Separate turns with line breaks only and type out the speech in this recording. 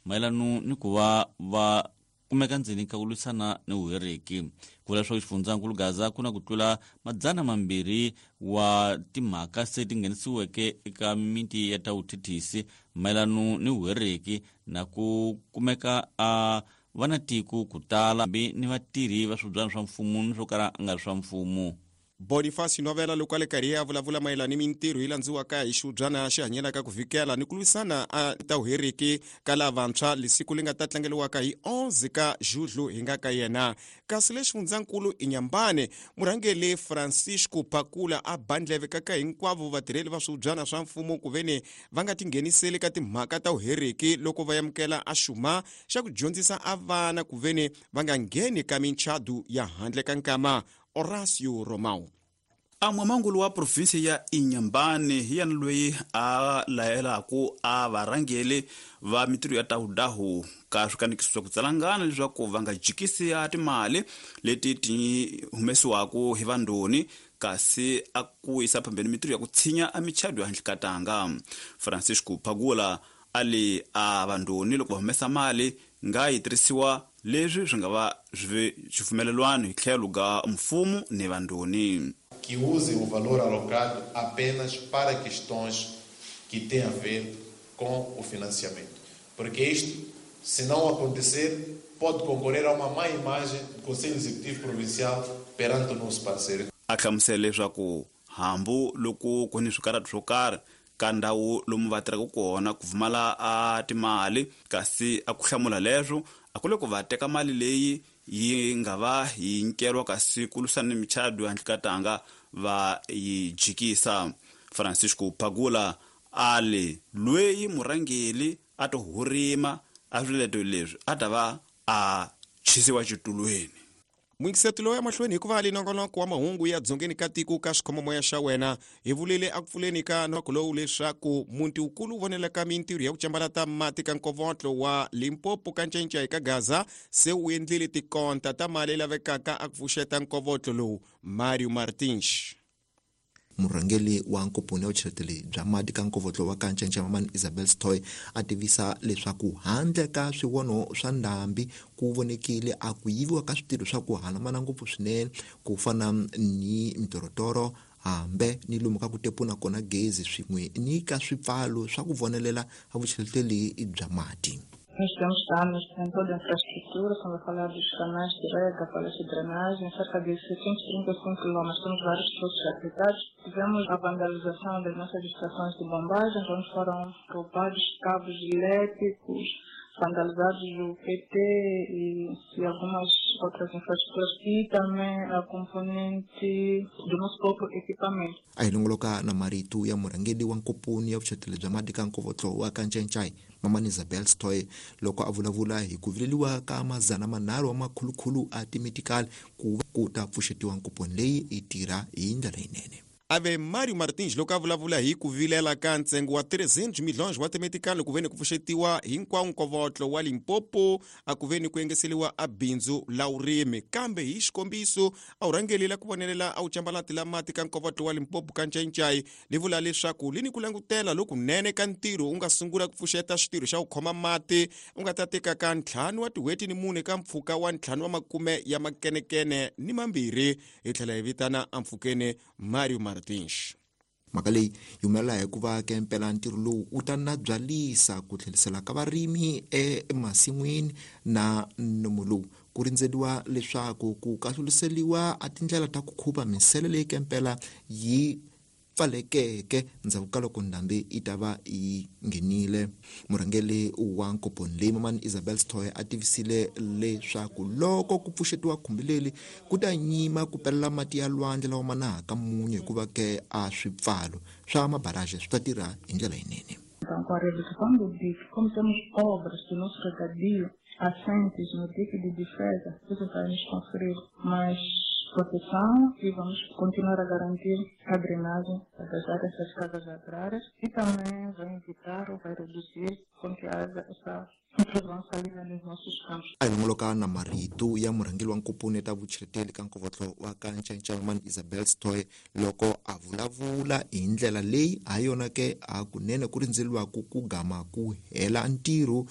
Mayelano ni ku va va kumeka ndzeni ka ku lwisana ni vuheriki. Ku vula leswaku xifundzankulu Gaza ku na ku tlula 200 wa timhaka se ti nghenisiweke eka mimiti ya ta vuthethisi mayelano ni vuheriki na ku kumeka a va na tiko ku tala hambi ni vatirhi va swibyana swa mfumo ni swo kala nga ri swa mfumo.
Boniface Novela loko a le karhi a vulavula mayelana ni mintirho yi landziwaka hi xiubyana xi hanyelaka ku vhikela ni ku lwisana a ta vuheriki ka lavantshwa lesiku li nga ta tlangeliwaka hi 11 ka Julho hi nga ka yena. Kasi le xifundzankulu Inhambane, murhangeli Francisco Phakula a ba ndleve ka ka hinkwavo vatirheli va swiubyana swa mfumo ku veni va nga tingheniseli ka timhaka ta vuheriki loko va amukela a xuma xa ku dyondzisa a vana ku veni va nga ngheni ka minchadu ya handle ka nkama. Horacio Romão.
A mwamangulu wa provinsi ya Inhambane hi yena loyi a layelaku a varhangeli va mitirho ya tawudahu ka swikanekiso swa ku tsalangana leswaku va nga jikisi a timali leti ti humesiwaku hi vandoni, kasi a ku yisa phambeni mitirho ya ku tshinya a michado ya handle ka tanga. Francisco Phagula a li a vandoni loko va humesa mali nga yi tirhisiwa leswi swi nga va swi xipfumelelwano hi tlhelo ga mfumo ni vandoni.
Que usem o valor alocado apenas para questões que têm a ver com o financiamento. Porque isto, se não acontecer, pode concorrer a uma má imagem do Conselho Executivo Provincial perante o nosso parceiro.
A hlamusela leswaku hambu loko ku ni swikarhato swo karhi ka ndhawu lomu va tirhaka kona ku pfumala a timali, kasi a ku hlamula leswo a ku le ku va teka mali leyi yi nga va yi nyikeriwa kasi ku lwisana ni michado handle ka tanga va yi jikisa. Francisco Phagula a li loyi murhangeli a to hurima a swileto leswi a ta va a chisiwa xitulweni.
Muyingiseto lowu ya mahlweni hikuva ali nongonoko wa mahungu ya dzongeni ka tiko ka xikhomomoya xa wena. Hi vulile a ku pfuleni ka nongonoko lowu leswaku muti wukulu wu vonelaka mintirho ya ku cambalata mati ka nkovotlo wa Limpopo ka ncencei ka Gaza se wu endlile tikonta ta mali lavekaka a ku pfuxeta nkovotlo lowu. Mario Martins.
Murhangeri wa nkomponi ya vucheleteli bya mati ka nkovotlo wa ka Ncencema Mani Isabel Stoy a tivisa leswaku handle ka swivono swa ndhambi ku vonekile a ku yiviwa ka switirho swa ku hanamana ngopfu swinene ku fana ni mitorotoro hambe ni lomu ka ku tepuna kona gezi swin'we ni ka swipfalo swa ku vonelela a vucheleteli bya mati.
Nós tivemos danos em toda a infraestrutura, estamos a falar dos canais de rega, falhas de drenagem, cerca de 635 quilômetros. Temos vários poços afetados. Tivemos a vandalização das nossas estações de bombagem, onde foram roubados cabos elétricos, vandalizados o PT e algumas outras infraestruturas e também a componente do nosso próprio equipamento.
A hi longoloka na marito ya murhangeri wa nkomponi ya vucheleteli bya mati ka nkovotlo wa ka Ncencai Mamani Isabel Stoy loko a vulavula hi ku vileliwa ka 300 wa makhulukhulu a timedikali ku va ku ta pfuxetiwa nkomponi leyi yi tirha hi ndlela yinene.
Ave Mario Martins loko a vulavula hi ku vilela ka ntsengo wa 300 milhões wa timedikali ku ve ni ku pfuxetiwa hinkwawo nkovotlo wa Limpopo a ku ve ni ku engeseliwa a bindzu la vurimi, kambe hi xikombiso a wu rhangelela ku vonelela a wu cambalati la mati ka nkovotlo wa Limpopo ka Ncayincai li vula leswaku li ni ku langutela lokunene ka ntirho wu nga sungula ku pfuxeta xitirho xa ku khoma mati u nga ta teka ka 5 wa tin'hweti ni 4 ka mpfhuka wa 5 wa makume ya makenekene ni mambirhi. Hi tlhela hi vitana ampfhukeni Mario Martins.
Mhaka leyi yi humelela hikuva ke mpela ntirho lowu wu ta nabyalisa ku tlherisela ka varimi emasin'wini na nomo lowu ku rindzeliwa leswaku ku kahluliseliwa a tindlela ta ku khuva minsele leyi ke mpela yi pfalekeke ndzhaku ka loko ndhambi yi ta va yi nghenile. Murhangeri wa nkomponi leyi Mamani Isabel Sithole a tivisile leswaku loko ku pfuxetiwa khumbi leri ku ta nyima ku pelela mati ya lwandle lawa ma nahaka munyu hikuva ke a swipfalo swa mabaraje swi ta tirha hi ndlela yinene.
Então, com a redução do dique, como temos obras do nosso regadio assentes no dique de defesa, isso vai nos conferir mais proteção e vamos continuar a garantir a drenagem das áreas das casas agrárias e também vai evitar ou vai reduzir com que haja essa intrusão salina nos nossos campos.
A hi longoloka na marito ya murhangeri wa nkomponi ta vucheleteli ka nkovotlo wa ka Ncancamani Isabel Stoy loko a vulavula hi ndlela leyi ha yona ke hakunene ku rindzeriwaku ku gama ku hela ntirho.